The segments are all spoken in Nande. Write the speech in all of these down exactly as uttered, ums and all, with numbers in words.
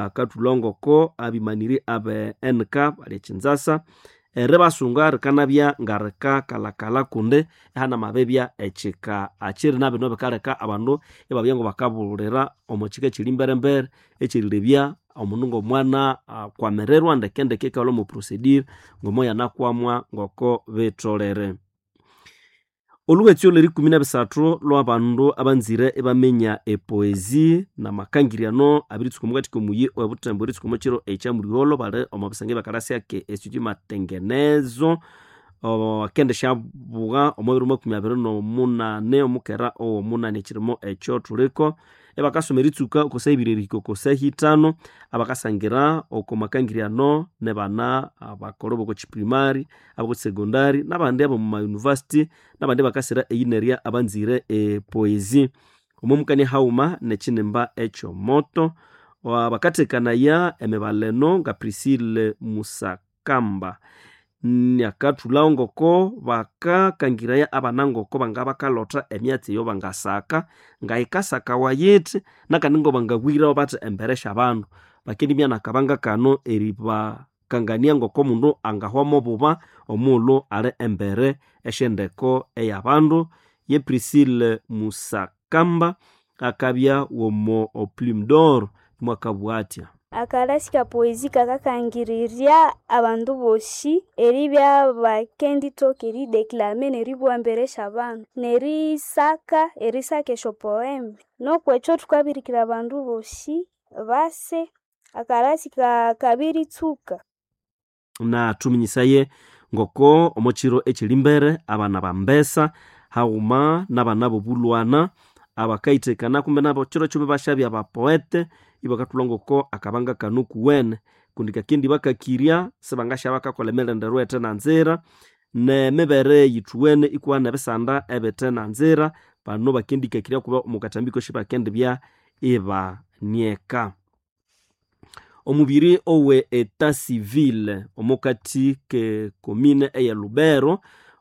Bakathulha abimaniri abe N K bali ekinzasa eribasunga rikanabya ngarikakalakala kundi ihana mabibya ekika akiri nabino bikaleka abandu ibabya ngabakabulira omo kika ekiri emberembere ekyerilebya omundu ngomwana akwamirirwa ndekendeke ikalhwa omo procedure ngomo yanakwamwa ngoko bitholere. Olhuwetsi olwerikumi nebisathu lwabandu abanzire ibaminya epoesie namakangiryano abiritsuka omukathi komuyi owebuthembo eritsuka omukiro ekyamuliholo bali omo bisenge byakalasi ake Institut Matengenezo akendisyabuwa omo biro makumi abiri nomunane omukera owomunani ekirimo ekyo thuliko ibakasoma eritsuka oko saha ibiri erihika oko saha ithano abakasangira oko makangiryano nibana abakolho boko kiprimary aboko secondary nabandi abomu ma university nabandi bakasira eyinerya abanzire epoesie omo mukania haghuma nekinimba ekyomoto bakathekanaya emibaleno nga Priscille Musakamba nakathulhawo ngoko bakakangiraya abana ngoko bangabakalotha emyatsi eyo bangasaka ngayikasakawa yithi nakandi ngobangabwirawo bathi embere syabandu bakendibya nakabanga kano eribakangania ngoko omundu angahwamu obuba omughulhu ali embere esyendeko eyabandu ye Priscille Musakamba akabya womo Plume d'Or mwakabugha athya. Akalasi ka poesie kakakangirirya abandu bosi eribya bakendithoka erideclame neribugha embere syabandu nerisaka erisaka esyo poeme nokwekyo thukabirikira abandu bosi base akalasi kabiritsuka. Na thuminyisaye ngoko omo kiro ekyiri mbere abana bambesa haghuma nabana bobulwana abakayithekana kumbe nabo kiro kyobe basyabya abapoete ibakathulha ngoko akabanga kano kuwene kundi kakindi bakakirya sibangasya bakakolha emirenderwa eyithe nanzira nemibere yithuwene ikuwana ebisanda ebithe nanzira bano bakendikakirya kuba omo kathambi kosi bakendibya ibanieka. Omubiri owe eta civile omukathi ke komine eye Lubero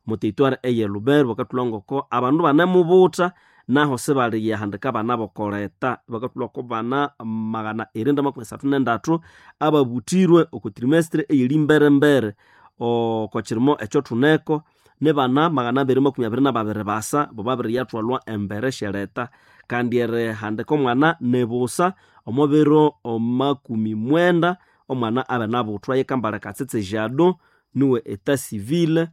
omo territoire eye Lubero bakathulha ngoko abandu banemubutha naho sibaliyahandika abana bokoleta bakathulha ko bana magana irinda makumi asathu nendathu ababuthirwe oko trimestre eyiri mberembere oko kirimo ekyo thuneko nibana magana abiri makumi abiri nababiri basa bo babiriyathwalwa embere syereta kandi erihandika omwana nibusa omo biro makumi mwenda omwana abe nabuthwa yikambala katsitsi jado niwe eta civile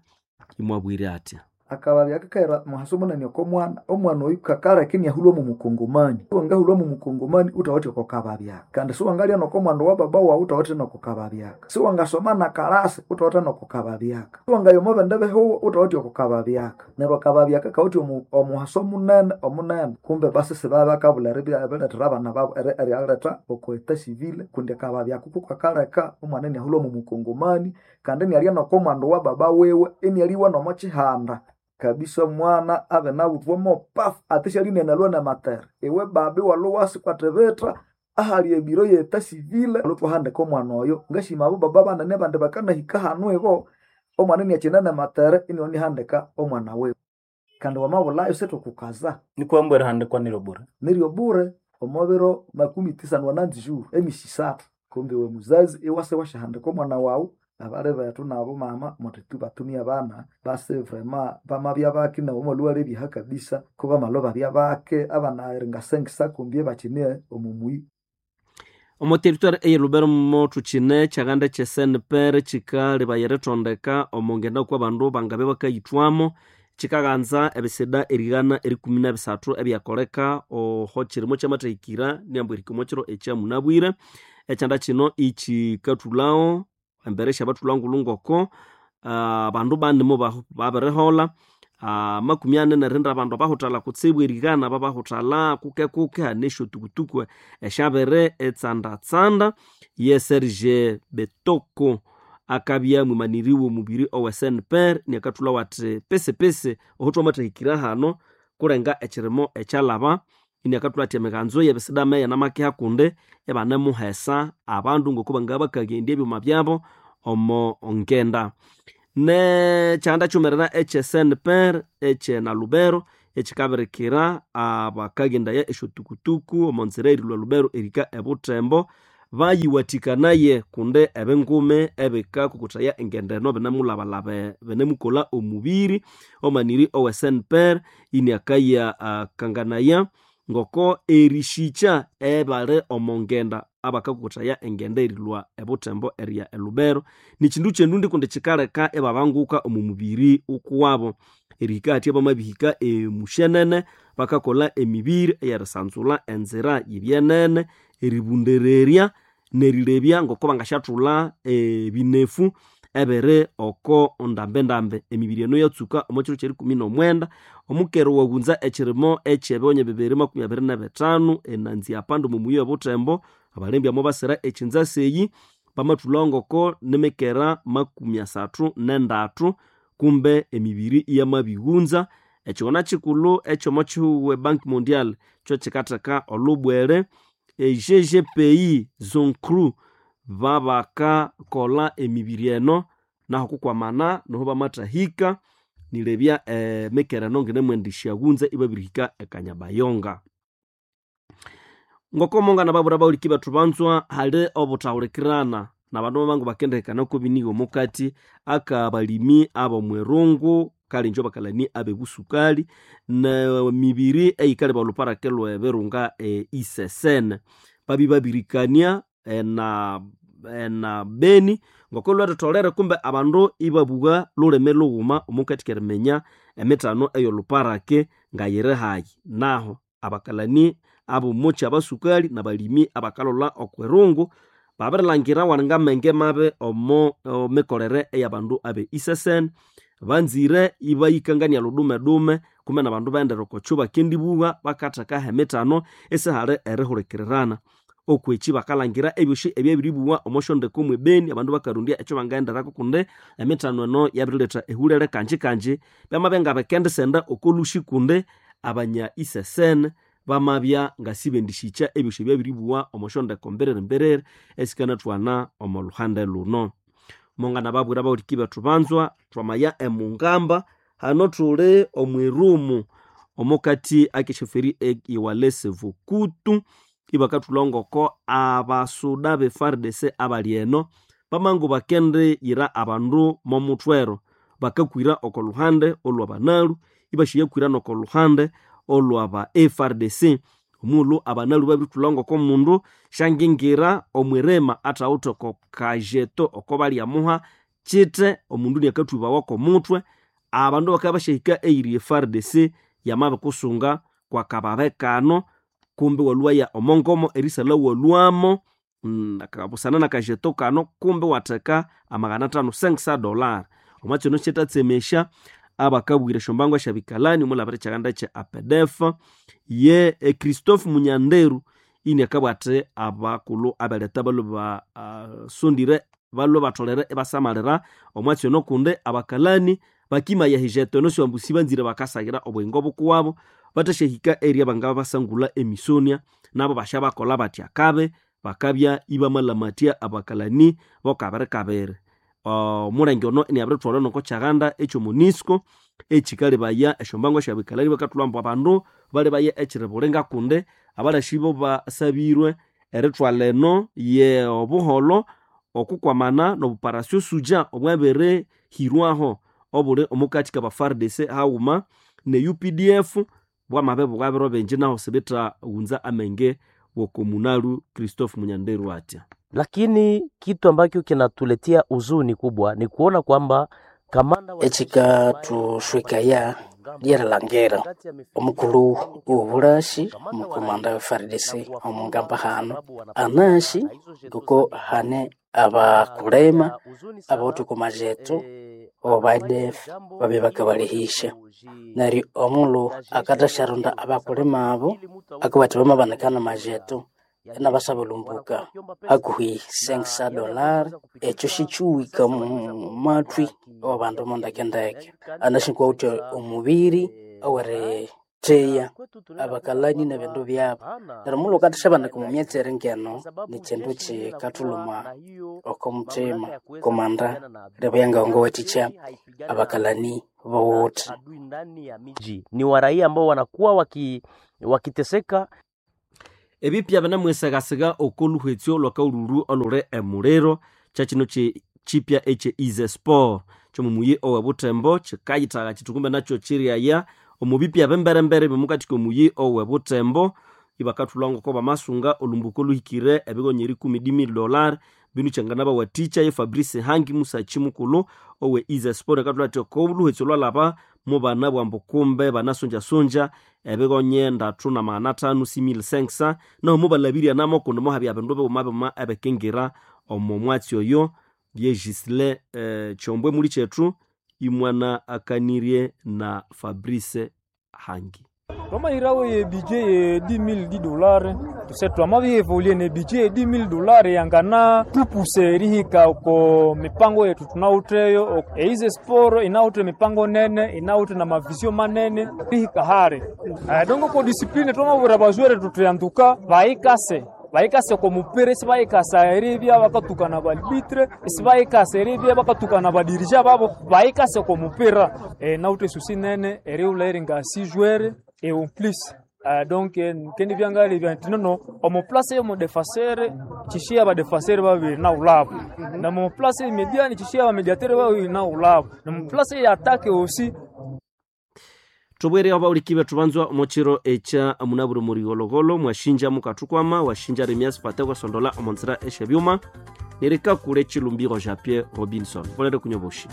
imwabwire athya. Akababya kakaira muhaso munene oko mwana omwana oyu kakaleka iniahulwa mu mukongomani wangahulwa mu mukongomani uthawithe oko kababyaka kandi siwangalya noko mwandu wa baba wawu uthawithe noko kababyaka siwangasoma na kalasi uthawithe noko kababyaka siwangaya omo bindi bihugo uthawithe oko kababyaka neryo akababyaka kawithe omuhaso munene omunene kumbe basi sibabakabulha erilethera abana babu eriyaletha oko eta civile kundi akababyaka kukakaleka omwana iniahulwa mu mukongomani kandi inialya noko mwandu wa baba wiwe inialiwa nomo kihanda kabisa omwana abe nabuthwa mopafu ate syalinenalwa namatere iwe babi walhuwasi kwathibitha ahali ebiro yeta civile lhuthwahandika omwana oyo ngashima abo baba banene abandi bakanahika hanu ibo omwana iniakyina namatere inionihandika omwana wiwe kandi wamabulhayo sithukukaza nikwambu erihandikwa niryo bure niryo bure omo biro makumi tisa nwananzi juru emisi isathu kumbe iwe muzazi iwase wasyahandika omwana wawu abali bethu nabo mama muthi batumie abana basi vrema bamabya bake nabo mwalhuwa lebyaha kabisa ko bamalwa babya bake abana eringasengisa kumbi bakyine omu muyi. Omo territoire eye Lubero mothu kine kyaghanda kye S N P R kikalebaya erithondeka omo ngenda kwa bandu bangabe bakayithwamo kikaghanza ebisida erighana erikumi nebisathu ebyakoleka oho kirimo kyamathahikira niambu erihika omo kiro ekyamunabwire ekyanda kino ikikathulhawo embere syabathulha ngulhu ngoko abandu banimo babiriholha amakumi ani nerinda abandu abahuthalha kutsibu erighana babahuthalha kuke kuke hane esyotukutuku esyabiri etsandatsanda ye Serge Betoko akabya mwimaniri w'omubiri owe S N P R niakathulhawo athi pisipisi oho thwamathahikira hano kulenga ekirimo ekyalhaba iniakathulha athi emighanzo y'ebisidame yanamakeha kundi ibanemuhesa abandu ngoko bangabya bakaghendya ebyuma byabo omo ngenda nekyanda kyumerera ekye S N P R ekye Nalubero ekikabirikira abakaghendaya esyotukutuku omo nzira erilhwa Lubero erihika ebuthembo. Bayiwathikanaye kundi ebingume ebikakukuthaya engendeno binemulhabalhabe binemukolha omubiri omaniri owe S N P R iniakaya uh, kanganaya ngoko erishikya ebali omongenda abakakukuthaya engenda erilhwa ebuthembo eriya elubero nikindu kyendundi kundi kikaleka ibabanguka omu mubiri ukuwabo. Erihika hathya bamabihika emushenene bakakolha emibiri eyerisanzulha enzira yibyenene, eribundererya nerilebya ngoko bangasyathulha ebinefu ebiri oko ndambendambe. Emibiri eno yatsuka omo kiro kyerikumi nomwenda omukero waghunza ekirimo ekyebighonye bibiri makumi abiri nebithanu enanzi apanda omo muyi webuthembo. Abalembya mobasira ekinzasi eyi bamathulhawo ngoko nimikera makumi asathu nendathu kumbe emibiri iyamabighunza. Ekighona kikulhu ekyomo kihugho e Banque Mondiale kyo kikatheka olhubwere e G G P I Zoncru babakakolha emibiri eno naho kukwamana noho bamathahika nilebya emikera eno nginemwendisyaghunza ibabirihika ekanyabayonga. Ngoko mongana babura bawuliki bethu banzwa hali obuthahulikirana nabandu bamangu bakendihikana kobinigha omukati akabalimi ab'omwirungu kalinjo bakalani ab'ebusukali nemibiri eyikaleba olhuparake lw'ebirunga e I C S N babi babirikania ena ena Beni ngoko lhwethetholere kumbe abandu ibabugha lhulimi lhughuma omukati keriminya emithano ey'olhuparake ngayiri hayi. Naho abakalani ab'omuchi abasukali nabalimi abakalholha okwirungu babirilhangira walinga amenge mabi omo mikolere eyabandu abe I C S N banzire ibayikangania lhudume-dume kumbe nabandu baghendera okwacho bakendibugha bakathekaho emithano isihali erihulikirirana. Okweki bakalhangira ebyosi ebyabiribugha omo syondeko mwe Beni abandu bakarondya ekyo bangaghenderako kundi emithano eno yabiriletha ehulere kanji-kanji. Byamabya ngabikendisenda oko lhusi kundi abanya I C S N bamabya ngasibendishikya ebyosi ebyabiribugha omo syondeko mbiriri-mbiriri esikanathwana omo lhuhande luno. Mongana babwira abawuliki bethu banzwa thwamaya emungamba hano thuli omwirumu omukati akesheferi eyiwalese Vukutu ibakathulha ngoko abasuda be F A R D C abali eno bamangu bakendiyira abandu momuthwero bakakwira oko luhande olwabanalu ibashiyakwira noko luhande olwaba F A R D C. Omulhu abanalu babirithulha ngoko mundu syangingira omwirima athawithe oko kajeto oko balyamuha kite omundu niakathubawa komuthwe. Abandu bakabya basyahika eyiri F A R D C yamabikusunga kwakababe kano kumbe walhwaya omongomo erisalha walhwamo busana nakajeto kano kumbe watheka amagana athanu cinq cents dollars. Omwa kino kyitatsemesya abakabwira esyombango esyabikalani omulabira ekyaganda kye A P D F ye Christophe Munyanderu iniakabugha athi abakulhu abeletha balhwe basondire balhwe batholere ibasamalira omwatsi ono kundi abakalani bakimaya ehijeto eno syambu sibanzire bakasaghira obuyingo bukuwabo bathasyahika area bangabasangulha emisonia nabo basyabakolha bathi akabi bakabya ibamalamathya abakalani bokabiri kabiri. Omulenge ono iniabirithwalha noko kyaghanda ekyomunisco ekikalebaya esyombango esyabikalani bakathulha ambu abandu balebaya ekiribulinga kundi abalasi basabirwe erithwalha eno ye obuholho okukwamana nobuparasyo suja obwabirihirwaho obuli omukati kaba F A R D C haghuma ne U P D F bwamabibugha biro bingi naho sibithaghunza amenge wokomunalu Christophe Munyanderu atya. Lakini kitu ambacho kinatuletea huzuni kubwa ni kuona kwamba kamanda wa Ekikathuswikaya lyerilangira omukulhu wobulasi omukomanda we F A R D C omungamba hano anasi ngoko hane abakulema abawithe oko majetho oba A D F babye bakabalehisya. Neryo omulhu akathasyarunda abakulema abo akabathi bamabanikana amajetho inabasabulumbuka hakuhi cinq cents dollars. Ekyo sikiwika omumathwi awabandu mondekendeke. Anasi kwawithe omubiri oweritheya abakalani nebindu byabu. Neryo omulhu wukathisyabanika omu myatsi eri ngeno nikyindu kikathulhuma oko muthima komanda lebya ngawangawathikya abakalani bowuthe. Adui ndani ya miji ni waraia ambao wanakuwa waki, wakiteseka. Ebipya binamwesegasega okoluhwetsyo lwakaululu oluli emuliro kyakino chipya ekye Easy Sport kyomumuyi owe Butembo kikayithaga kiti kumbe nakyo kiryaya omu bipya bimberembere bimukatika omuyi owe Butembo ibakathulha ngoko bamasunga olumbuko oluhikire ebigonya erikumi dix dollar binu kyangana bawathikya ye Fabrice Hangi musachi mukulhu owe Easy Sport akathulha athi okoluhwetsyo lwalhaba mubana bwambu kumbe banasonjasonja ebigonye ndathu na magana athanu six mille cinq cents naho mubalabirya namo kundi muhabya bindu bighuma bighuma ebikingira omo mwatsi oyo ye Gisle eh, Kyombwe muli kyethu imwana akanirye na Fabrice Hangi. Twamahirawo ye budget ye dix mille dix dollars tuse twamabievolue ne budget ye dix mille dollars yangana tupuse erihika oko mipango yetu tunawutheyo. Eize sport inawuthe mipango nene inawuthe na mavisio manene rihika hare. Uh, dongo ko discipline twamabwira bazwere tutyanduka bayikase bayikase ko mupira isibayikasa eribya bakatukana balibitre isibayikasa eribya bakatukana badirija babo bayikase ko mupira e, nawuthe susi nene eriwula eringa six joueurs et en plus Uh, donc kendi byangali bya nti nono omu place yomu defenseur chishia ba defenseur babiri na ulabo na mu place mediani chishia ba mediateur babiri na ulabo na mu place ya attaque aussi. Tubwere abawulikibe tubanzwa omukiro ekya munaburi murigologolo mwashinja mukathukwama washinja remias pate kwasondola omonzira esyebyuma nerikakule chilumbiro ja Pierre Robinson volere kunyoboshi.